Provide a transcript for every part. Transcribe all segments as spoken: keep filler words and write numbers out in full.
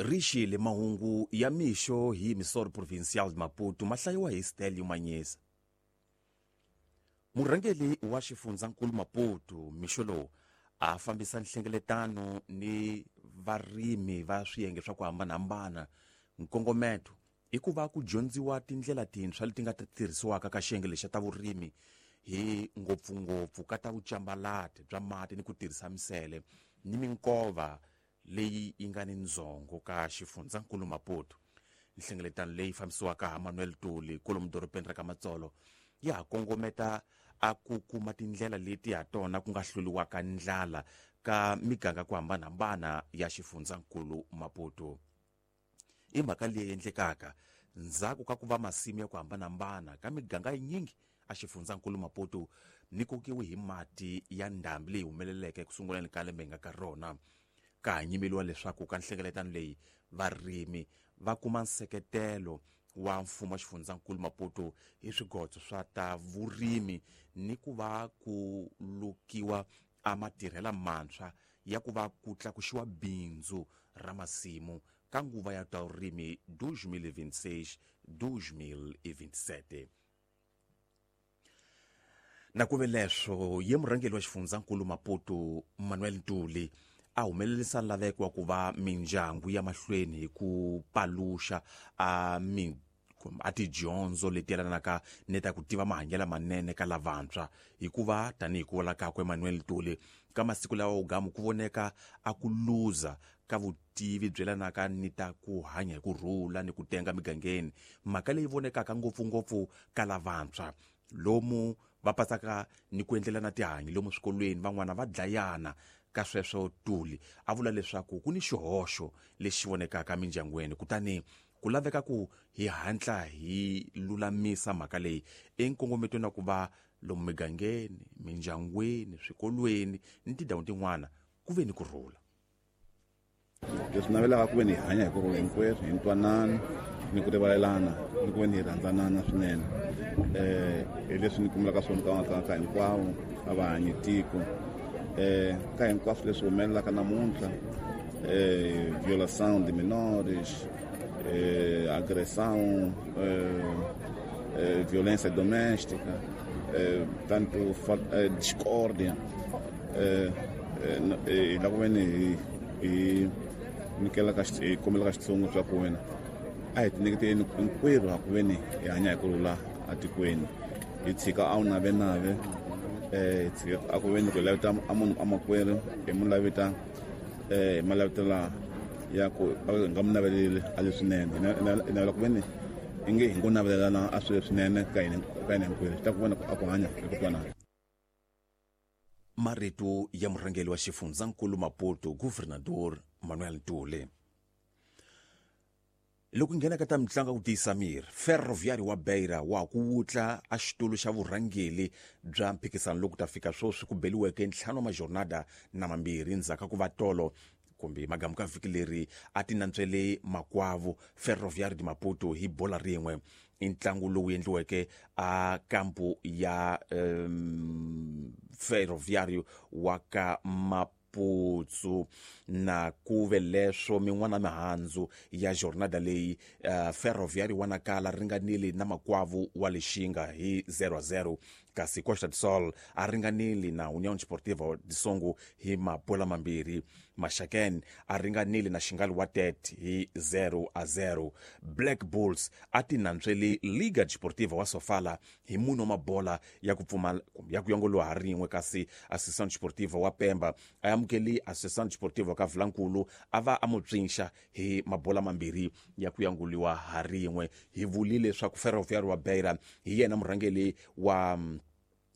Rixile mahungu ya mixo hi Emissora Provincial de Maputo ma hlayiwa hi Stelio Manyesa. Murhangeri wa xifundzankulu Maputo mixo lowu a fambisa nhlengeletano ni varimi va swiyenge swa ku hambanahambana. Nkongometo i ku va ku dyondziwa tindlela tintshwa leti nga ta tirhisiwaka ka xiyenge lexa ta vurimi hi ngopfungopfu ka ta vucambalati bya mati ni ku tirhisa misele ni minkova leyi yi nga ni ndzhongo ka xifundzankulu Maputo. Nhlengeletano leyi fambisiwaka ha Manuel Tuli kwalomu dorobeni ra ka Matsolo ya ha kongometa a ku kuma tindlela leti ha tona ku nga hluriwaka ndlala ka miganga ku hambanahambana ya xifundzankulu Maputo. I mhaka leyi endlekaka ndzhaku ka ku va masimu ya ku hambanahambana ka miganga yinyingi a xifundzankulu Maputo ni kokiwe hi mati ya ndhambi leyi humeleleke ku sunguleni ka lembe nga ka rona. Ka ha nyimeliwa leswaku ka nhlengeletano leyi varimi va kuma nseketelo wa mfumo wa xifundzankulu Maputo hi swigodzo swa ta vurimi ni ku va ku lukiwa a matirhela mantshwa ya ku va ku tlakuxiwa bindzu ra masimu ka nguva ya ta vurimi dois mil e vinte e seis dois mil e vinte e sete. Na ku ve leswo ye murhangeri wa xifundzankulu Maputo Manuel Ntuli a humelerisa laveko wa ku va mindyangu ya mahlweni hi ku paluxa a mi a tidyondzo leti yelanaka ni ta ku tiva mahanyelo manene ka lavantshwa, hikuva tanihi ku vula kakwe Manuel Ntuli ka masiku lawa wugamu ku voneka a ku luza ka vutivi byi yelanaka ni ta ku hanya hi ku rhula ni ku tenga migangeni, mhaka leyi vonekaka ngopfungopfu ka lavantshwa lomu va patsaka ni ku endlelana tihanyi lomu swikolweni, van'wana va dlayana. Ka sweswo Tuli a vula leswaku ku ni xihoxo lexi vonekaka mindyangwini, kutani ku laveka ku hi hatla hi lulamisa mhaka leyi enkongometweni wa ku va lomu migangeni, mindyangwini, swikolweni ni tindhawu tin'wana ku ve ni ku rhula. Leswi navelaka ku ve ni hi hanya hi ku rhula hinkwerhu, hi ntwanano ni ku rivalelana ni ku ve ni hi rhandzanana swinene. Eh hi leswi ni kumelaka swona ka ka ka hinkwavo a va hanyi tiko. Eh ka hinkwaswo leswi humelelaka namuntlha, eh violação de menores, eh agressão, eh, eh violência doméstica, eh tanto eh, discórdia, eh eh la ku ve ni hi hi nyikela ka hi kombela ka Xitsonga swa ku wena a hi tinyiketeni hinkwerhu ha ku ve ni hi hanya hi ku rhula atikweni, hi tshika a wu navenave, eh hi tshika a ku ve ni ku hi laveta a munhu a makwerhu hi mu laveta eh hi malaveta ya ku hi nga mu naveleli a leswinene, hi navela ku ve ni i nge hi ngo navelelana a swilo leswinene ka hina ka hina hinkwerhu, swi ta ku vona a ku hanya hi ku twanana. Marito ya murhangeri wa xifundzankulu Maputo Governador Manuel Ntuli. Loko nghena ka ta mitlangu ku tiyisa miri, Ferroviário wa Beira wa ku wutla a xitulu xa vurhangeri bya mphikizano loku ta fika sweswi ku beliweke ntlhanu wa majornada na mambirhi ndzhaku ka ku va tolo kumbe magamu ka vhiki leri a ti nantswele makwavo Ferroviário de Maputo hi bola rin'we. I ntlangu lowu endliweke a kampu ya um, Ferroviário wa ka Maputsu. Na ku ve leswo min'wana mihandzu ya jornada leyi uh, Ferroviário wa Nacala ringanile na makwavo wa Lixinga hi zero a zero, kasi Costa do Sol a ringanile na União Desportiva de Songo hi mabola mambirhi. Maxaken a ringanile na Xingali wa Tete hi zero a zero. Black Bulls a ti nantswele Liga Desportiva wa Sofala hi mune wa mabola ya ku pfumala ya ku yongoliwa ha rin'we, kasi Associação Desportiva wa Pemba a amukeli Associação Desportiva ka Vilankulu a va a mu pfinxa hi mabola mambirhi ya ku yanguliwa ha rin'we. Hi vulile leswaku Ferroviário wa Beira hi yena murhangeri wa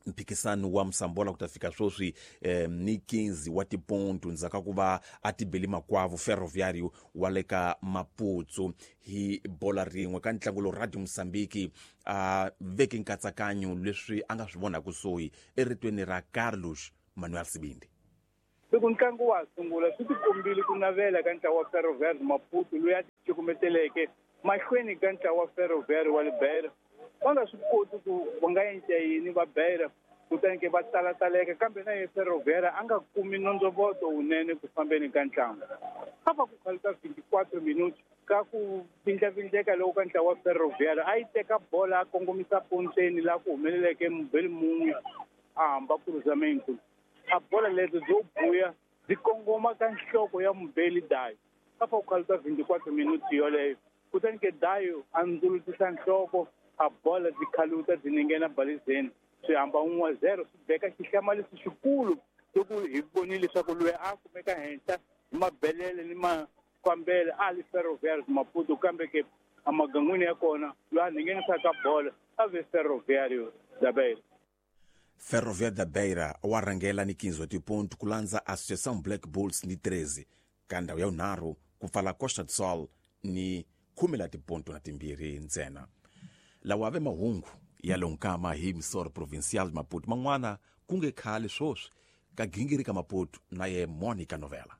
mphikizano wa Msambola ku ta fika sweswi eh, ni quinze wa tiponto ndzhaku ka ku va a tibeli makwavo Ferroviário wa le ka Maputsu hi bola rin'we. Ka ntlangu lowu Radio Mozambique a veke nkatsakanyo leswi a nga swi vona kusuhi eritweni ra Carlos Manuel Sibindi. Loko ntlangu wa sungula swi tikombile ku navela ka ntlawa wa Ferroviário Maputo loyi a cukumeteleke mahlweni ka ntlawa wa Ferroviário wa le Beira. Va nga swi koti ku va nga endla yini va Beira, kutani ke va talataleka, kambe na ye Ferroviário a nga kumi nondzovoto wunene ku fambeni ka ntlangu. Ka va ku khaluta vinte e quatro minutos ka ku vindlavindleka loko ka ntlawa wa Ferroviário a yi teka bola a kongomisa ponteni laha ku humeleleke mubeli mun'we a hamba cruzamento, a bola leto byo buya byi kongoma ka nhloko ya mubeli Dayo. Ka fa ku khaluta vinte e quatro minutos yoleyo, kutani ke Dayo a ndzulutisa nhloko, a bola byi khaluta byi ninghena balizeni, swi hamba un'we zero. Swi beka xihlamariso xikulu loko hi vonile leswaku loyi a kumeka henhla hi mabelele ni mafambele a li Ferroviário Maputo, kambe ke emagangwini ya kona loyi a nghenisaka bola a ve Ferroviário da Beira. Ferroviário da Beira wa rhangela ni quinze wa tiponto, ku landza Associação Black Bulls ni treze. Ka ndhawu ya vunharhu ku pfala Costa do Sol ni khume la tiponto na timbirhi ntsena. Lawa ave mahungu ya lonkama hi emissora provincial Maputo. Man'wana ku nge khale swoswi ka gingiri ka Maputo na ye Monica Novela.